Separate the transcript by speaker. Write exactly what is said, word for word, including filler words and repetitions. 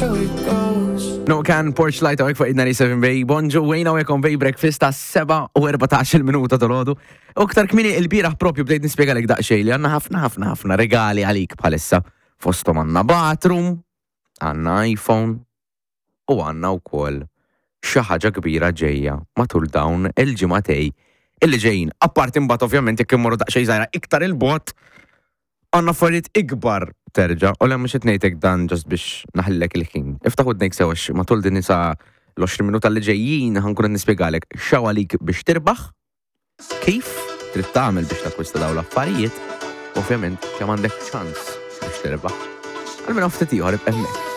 Speaker 1: how it goes.
Speaker 2: NoCan, Porch Light hawnhekk fuq id-ninety-seven Bay. Bonġu, wejna hawnhekk on Bay Breakfast ta' sebgħa u erbatax-il minuta tal-għodu. U ktar kmieni il-bieraħ propju bdejt nispjegalek daqsxejn li għandna ħafna ħafna ħafna regali għalik bħalissa. Fostom għandna bathroom, għandna iPhone u għandna wkoll xi ħaġa kbira ġejja matul dawn il-ġimagħtejn illi ġejjin. Apparti mbagħad, ovvjament, jekk immorru daqsxejn żgħira iktar il-bogħod, għandna affarijiet ikbar terġa', u le, mhux qed ngħidlek dan just biex naħlilek il-ħin. Iftaħ widnejk sew għax matul din nisa l-għoxrin minuta li ġejjin ħa nkun nispjegalek x'hawn għalik biex tirbaħ, kif trid tagħmel biex takkwista dawn l-affarijiet, ovvjament kemm għandek ċans biex tirbaħ. Għal minn ftit ieħor, ibqa' hemmhekk.